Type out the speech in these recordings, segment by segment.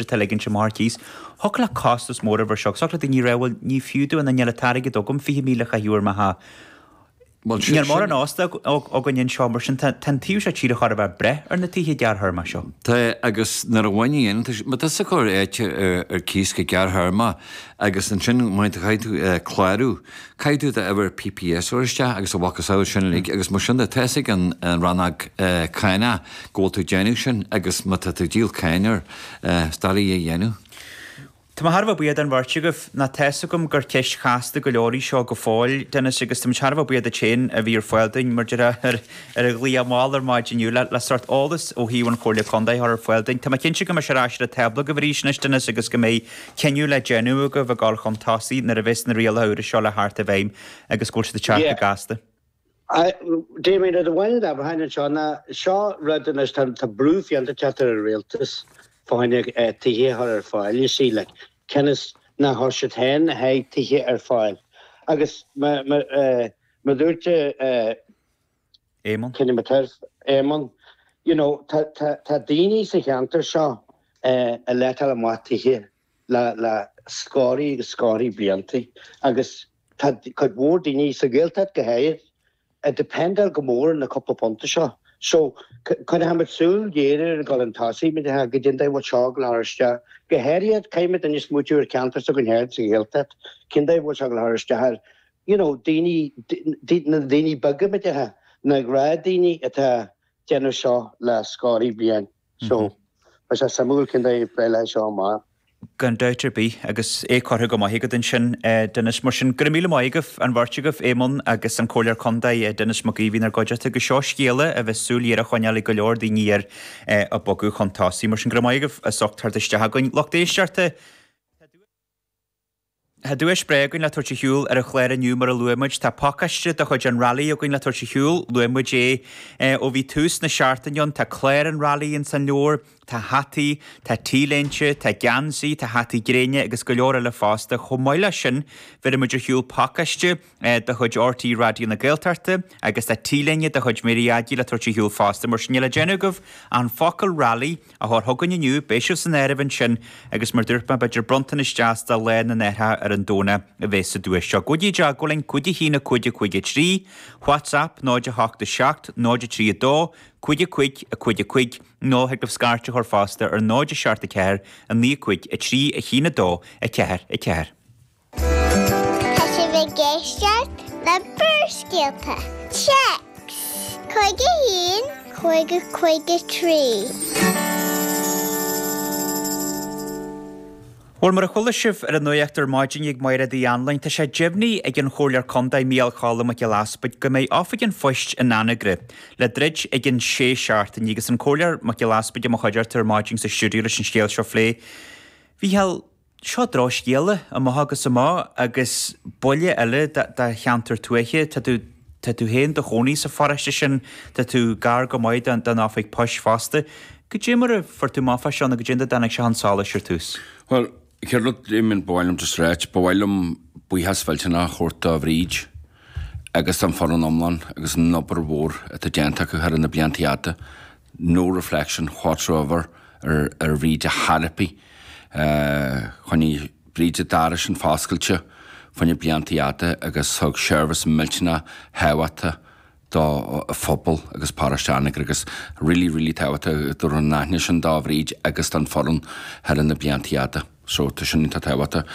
Atá ligint amach ar cíos. Thiocfadh le costas mór a bheith air seo. Thiocfadh le daoine a rá, bhuel, ní fiú dúinn, níl an t-airgead agam 20,000 a chaitheamh ar mo theach. Bhuel, Níl sin, mórán ósta againn anseo, mar sin tá an taobh seo tíre chóir a bheith breá ar na tithe gearrthéarma seo. Tá, agus nuair a bhain an, má tá tusa ag cur áit ar cíos go gearrthéarma agus ansin má chaithfidh tú clárú, caithfidh tú d'uimhir PPS a chur isteach agus a mhacasamhail sin uilig agus mar sin de tá fhios ag an rannóg cánach go bhfuil tú ag déanamh sin agus má tá tú ag díol cáin air, is doiligh é a dhéanamh. Tá mé thar a bheith buíoch den bheirt agaibh. Nó tá fhios agam gur ceist chasta go leor í seo go fóill, Denis, agus tá muid thar a bheith buíoch duit féin a bhí ar fáil dúinn, mar déarfá, ar ar an ghlaoch mall ar maidin inniu le le sórt eolas ó thaobh an Chomhairle Contae a chur ar fáil dúinn. Tá mé cinnte go mbeidh sé ar ais ar an tábla agaibh arís anois, Denis, agus go mbeidh cinneadh le déanamh agaibh ag dul chun tosaigh nuair a bheas na rialacha úra seo le theacht i bhfeidhm agus go bhfuil siad ag teacht go gasta. Damien, rud amháin a déarfainn anseo ná seo rud anois, tá tá brú fiánta ag teacht ar an rialtas fá choinne tithe a chur ar fáil, you see, like, cionn is nár chuir siad féin a haghaidh tithe ar fáil. Agus mar a dúirt Éamonn. Kenny Éamonn, you know, tá tá tá daoine sa cheantar seo ag letáil amach tithe le le scórthaí agus scórthaí blianta agus tá cuid mhór daoine, sa Ghaeltacht go háirid, ag dependáil go mór ar na cúpla punta seo. So, coinneochaimid súil ghéar air ag dul chun tosaigh, mar goidé an dóigh a bhfuil seo ag dul a chur isteach. Go háirithe, caithfimid anois smaoitiú ar cheantar s'againn féin sa Ghaeltacht, cén dóigh a bhfuil seo ag dul a chur isteach ar, you know, daoine, na daoine beaga, mar a déarfá, na gnáthdhaoine atá ag déanamh seo le scórthaí bliain. So, beidh sé suimiúil cén dóigh a bpléifidh seo amach. Gan dabht ar bith, agus é curtha go maith agat ansin, Denis. Mar sin, go raibh míle maith agaibh, an bheirt agaibh, Éamonn agus an Comhairleoir Contae, Denis Mac Aoidh, a bhí inár gcuideachta agus seo scéala a bheas súil ghéar á choinneáil ag go leor daoine air ag bogadh chun tosaigh. Mar sin, go raibh maith agaibh as ucht teacht isteach chugainn. Lucht éisteachta, Tá duais breá againn le tabhairt ar shiúl ar an chlár inniu mar a luaigh muid. Tá pacáiste de chuid an Rally againn le tabhairt ar shiúl. Luaigh muid é ó bhí tús na seachtaine ann. Tá clár an Rally ins an leabhar, tá hataí, tá T-léinte, tá geansaí, tá hataí gréine agus go leor eile fosta. Chomh maith leis sin, bheirfidh muid ar shiúl pacáiste de chuid RTÉ Raidió na Gaeltachta agus tá T-léine de chuid Mary Aggie le tabhairt ar shiúl fosta. Mar sin, níl le déanamh agaibh ach an focal Rally a chur chugainn inniu, beidh sibh san áireamh ansin agus mar dúirt mé, b'fhéidir bronntanais deas do Lá na nAithreacha ar an Domhnach a bheas sa duais seo. Gabhaigí i dteagmháil linn, 5 1 5 5 3, WhatsApp 0 8 7 0 3 2 5 5 5 5 nó thig libh scairt a chur fosta ar 0 7 4 9 5 3 1 2 4 4. Tá sibh ag éisteacht le Barrscéalta. Téacs 51 50 53. Bhuel, mar a chuala sibh ar an nuacht ar maidin ag Máiréad Uí Anluain, tá sé deimhnithe ag an Chomhairleoir Contae Mícheál Cholm Mac Giolla Easpaig go mbeidh Oifig an Phoist in Anagaire le druid i gcionn sé seachtainí agus an Comhairleoir Mac Giolla Easpaig i mo chuideachta ar maidin sa stiúideo leis an scéal seo a phlé. Mhícheál, Seo drochscéala, amach agus amach, agus buille eile do cheantar tuaithe. Tá tú, tá tú féin do chónaí sa pharóiste sin, tá tú gar go maith don oifig poist fosta. Goidé mar a fuair tú amach fá seo nó goidé an dóigh a dtáinig sé chun solais ar tús? Bhuel, chéad rud, Damien, ba mhaith liom just ráit, ba mhaith liom buíochas mhillteanach a thabhairt do Bhríd agus don foireann iomlán agus an obair mhór atá déanta acu thar na blianta fhada. No reflection whatsoever ar ar Bhríd ar chor ar bith. Choinnigh Bríd an doras sin foscailte fá choinne blianta fhada agus thug seirbhís millteanach thábhachtach do phobal agus paróiste Anagaire agus really really tábhachtach go dtabharfar an aithne sin do Bhríd agus don foireann thar na blianta fhada. So tá sin iontach tábhachtach.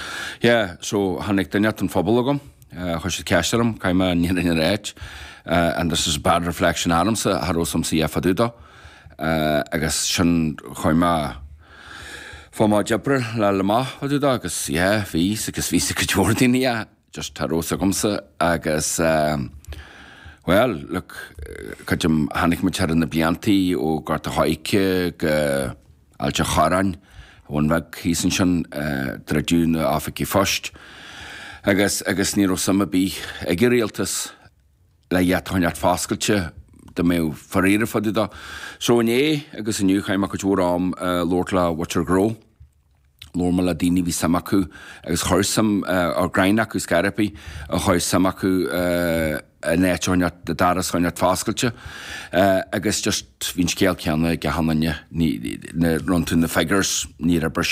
Yeah, so tháinig duine den phobal chugam, chuir siad ceist orm, caithfidh mé an fhírinne a ráit, and this is a bad reflection ormsa, cha raibh a fhios a'msa a dhath fá dtaobh dó. Agus sin, chuaigh mé, fuair mé d'oibre le le amach fá dtaobh dó agus yeah, bhí, agus bhí a fhios ag cuid mhór daoine, yeah, just cha raibh a fhios agamsa agus well, look, creidim, tháinig muid thar na bliantaí ó Gort a' Choirce go, Ailt a' Chorráin, Bhun Bheag thíos ansin, druideadh na oifigí phoist agus agus ní raibh suim ar bith ag an rialtas le iad a choinneáilt foscailte dá mbeadh faraor fá dtaobh dó. So inné agus inniu chaith mé cuid mhór am ag labhairt le mhuintir gnó. Labhair mé le daoine a bhí suim acu agus chuir suim, or greim acu scor ar bith, a chuir suim acu an áit a choinneáil, an doras a choinneáil foscailte agus just bhí an scéal céanna ag achan duine, ní, nuair a rinne tú na figures, níor oibrigh sé.